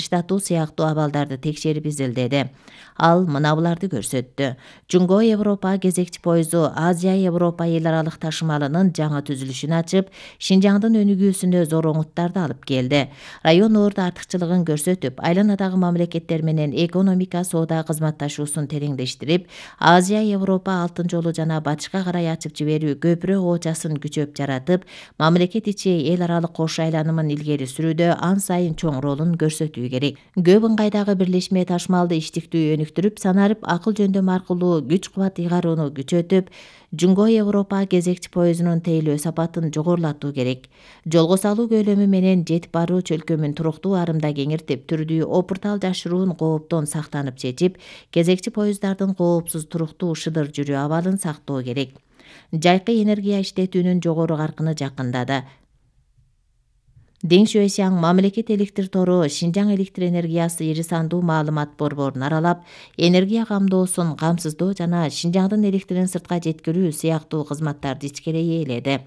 жылыштатуу сыяктуу абалдарды текшерип изилдеди. Ал мына буларды көрсөттү. Жунго Европа кезекчи поезду Азия Европа эл аралык ташымалынын жаңы түзүлүшүн ачып, Шинжаңдын өнүгүүсүнө зор оңуттарды алып келди. Район орду артыкчылыгын көрсөтүп, айланадагы мамлекеттер менен экономика, соода кызматташуусун тереңдештирип, Азия Европа алтын жолу жана батышка карай ачып жиберүү көпүрө оочасын күчөп жаратып, мамлекет ичи эл аралык кош айланымын илгери сүрүүдө ан сайын чоң ролун көрсөтүү керек. Көп ыңгайдагы бирлешме ташмалды иштиктүү өнүктүрүп, санарып акыл жөндөм аркылуу күч кубат ыйгарууну күчөтүп, Жунго Европа кезекчи поездунун тейлөө сапатын жогорулатуу керек. Жолго салуу көлөмү менен жетип баруу чөлкөмүн туруктуу арымда кеңиртип, түрдүү опуртал жашыруун кооптон сактанып чечип, кезекчи поезддардын коопсуз туруктуу шыдыр жүрүү абалын сактоо керек. Жайкы энергия иштетүүнүн жогору каркыны жакындады. Дeng Xuexiang мамлекет электр тору Шинжаң электр энергиясы ири сандуу маалымат борборун аралап, энергия камдоосун камсыздоо жана Шинжаңдын электрин сыртка жеткирүү сыяктуу кызматтарды ичкерей ээледи.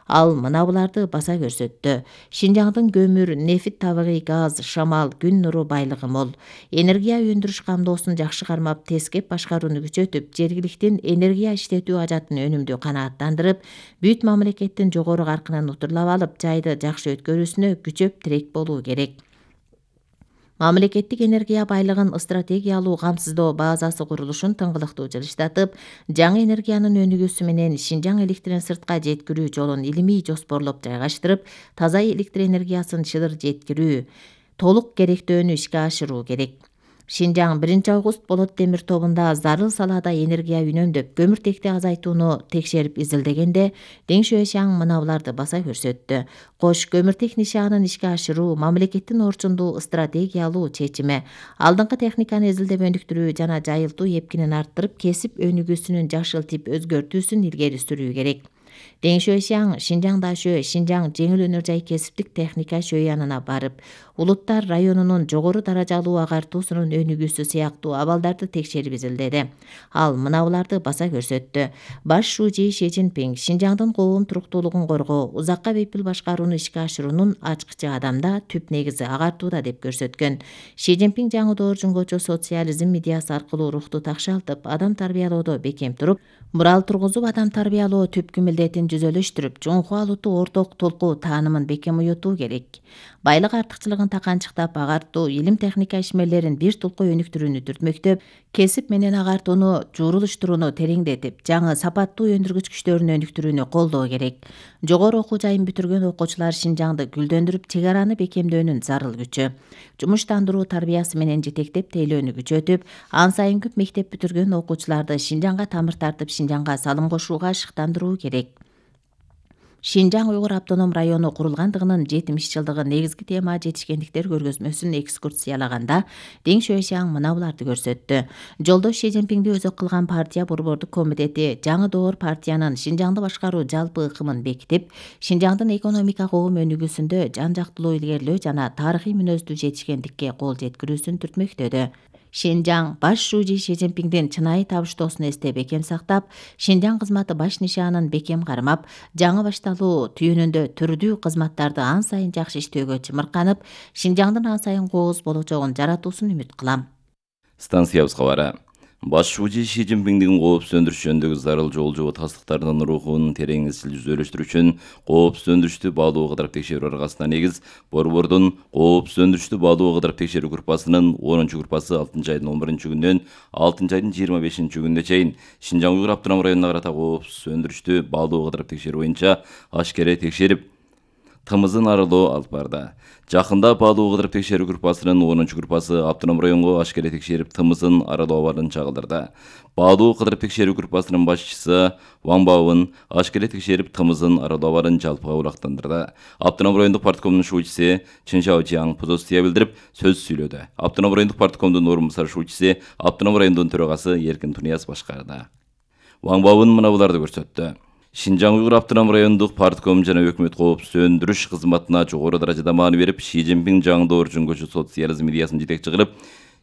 Ал мына буларды баса көрсөттү. Шинжаңдын көмүр, нефт, табигый газ, шамал, күн нуру байлыгы мол. Энергия өндүрүш камдоосун жакшы кармап, тескеп башкарууну күчөтүп, жергиликтин энергия иштетүү ажатын өнүмдүү канааттандырып, бүт мамлекеттин жогору каркынын утурлап алып, жайды жакшы өткөрүүсүнө күчөп тирек болуу керек. Мамлекеттик энергия байлыгын стратегиялуу камсыздоо базасы курулушун тыңгылыктуу жылыштатып, жаңы энергиянын өнүгүүсү менен Шинжаң электрин сыртка жеткирүү жолун илимий жоспорлоп жайгаштырып, таза электр энергиясын шыдыр жеткирүү, толук керектөөнү ишке ашыруу керек. Шинжаң 1-август болот темир тобунда зарыл салаада энергия үнөмдөп, көмүртекти азайтууну текшерип изилдегенде, Deng Xuexiang мына буларды баса көрсөттү. Кош көмүртек нишаанын ишке ашыруу мамлекеттин орчундуу стратегиялуу чечими. Алдыңкы техниканы изилдеп өнүктүрүү жана жайылтуу эпкинин арттырып, кесип өнүгүүсүнүн жашыл тип өзгөртүүсүн илгери сүрүү керек. Deng Xuexiang Шинжаң Дашө, Шинжаң жеңил өнөр жай кесиптик техника шөй барып, улуттар районунун жогору даражалуу агартуусунун өнүгүүсү сыяктуу абалдарды текшерип изилдеди. Ал мына буларды баса көрсөттү. Баш шужи Ши Цзиньпин Шинжаңдын коом туруктуулугун коргоо, узакка бепил башкарууну ишке ашыруунун ачкычы адамда түп негизи агартууда деп көрсөткөн. Ши Цзиньпин жаңы доор жунгочу социализм идеясы аркылуу рухту такшалтып, адам тарбиялоодо бекем туруп, мурал тургузуп, адам тарбиялоо түпкү милдетин жүзөлөштүрүп, Жунхуа улутту орток толку таанымын бекем уютуу керек. Байлык артыкчылыгын таканчыктап, агартуу, илим техника ишмерлерин бир толку өнүктүрүүнү түртмөктөп, кесип менен агартууну журулуштурууну тереңдетип, жаңы сапаттуу өндүргүч күчтөрүн өнүктүрүүнү колдоо керек. Жогору окуу жайын бүтүргөн окуучулар Шинжаңды гүлдөндүрүп, чек араны бекемдөөнүн зарыл күчү. Жумуштандыруу тарбиясы менен жетектеп, тейлөөнү күчөтүп, ан сайын көп мектеп бүтүргөн окуучуларды Шинжаңга тамыр тартып, Шинжаңга салым кошууга шыктандыруу керек. Шинжаң уйгур автоном району курулгандыгынын 70 негизги тема жетишкендиктер көргөзмөсүн экскурсиялаганда Deng Xuexiang мына буларды көрсөттү. Жолдош Ши Цзиньпинди өзөк кылган партия борбордук комитети жаңы доор партиянын Шинжаңды башкаруу жалпы ыкымын бекитип, Шинжаңдын экономика коом өнүгүүсүндө жан жактылуу илгерилөө жана тарыхый мүнөздүү жетишкендикке кол жеткирүүсүн түртмөктөдү. Шинжаң баш шужи Ши Цзиньпиндин чынайы табыштоосун эсте бекем сактап, Шинжаң кызматы баш нишаанын бекем кармап, жаңы башталуу түйүнүндө түрдүү кызматтарды ан сайын жакшы иштөөгө чымырканып, Шинжаңдын ан сайын кооз болочогун жаратуусун үмүт кылам. Станциябыз кабары. Баш шужи Ши Цзиньпиндин коопсуз өндүрүш жөнүндөгү зарыл жол жобо тастыктарынын рухун терең изил жүзөлөштүрүү үчүн коопсуз өндүрүштү баалуу кыдырып текшерүү аргасына негиз борбордун коопсуз өндүрүштү баалуу кыдырып текшерүү группасынын 10-группасы 6-айдын 11-күнүнөн 6-айдын 25-күнүнө чейин Шинжаң уйгур автоном районуна карата коопсуз өндүрүштү баалуу кыдырып текшерүү боюнча ашкере текшерип, тымызын аралоо алып барды. Жакында баалуу кыдырып текшерүү группасынын 10-группасы автоном районго ашкере текшерип, тымызын аралоо абалын чагылдырды. Баалуу кыдырып текшерүү группасынын башчысы Ван Баовун ашкере текшерип, тымызын аралоо абалын жалпыга булактандырды. Автоном райондук парткомдун шучиси Чын Шаочияң позиция билдирип, сөз сүйлөдү. Автоном райондук парткомдун орун басар шучиси Автоном райондун төрагасы Эркин Тунияз башкарды. Ван Баовун мына буларды көрсөттү. Шинжаң уйгур автоном райондук партком жана өкмөт коопсуз өндүрүш кызматына жогору даражада маани берип, Ши Цзиньпин жаңы доор жунгочу социализм идеясын жетекчи кылып,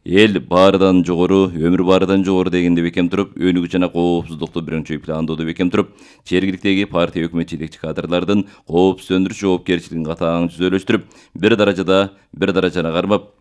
эл баарыдан жогору, өмүр баарыдан жогору дегенде бекем туруп, өнүгүү жана коопсуздукту биринчи пландоодо бекем туруп, жергиликтеги партия өкмөт жетекчи кадрлардын коопсуз өндүрүш жоопкерчилигин катаң жүзөлөштүрүп, бир даражаны кармап,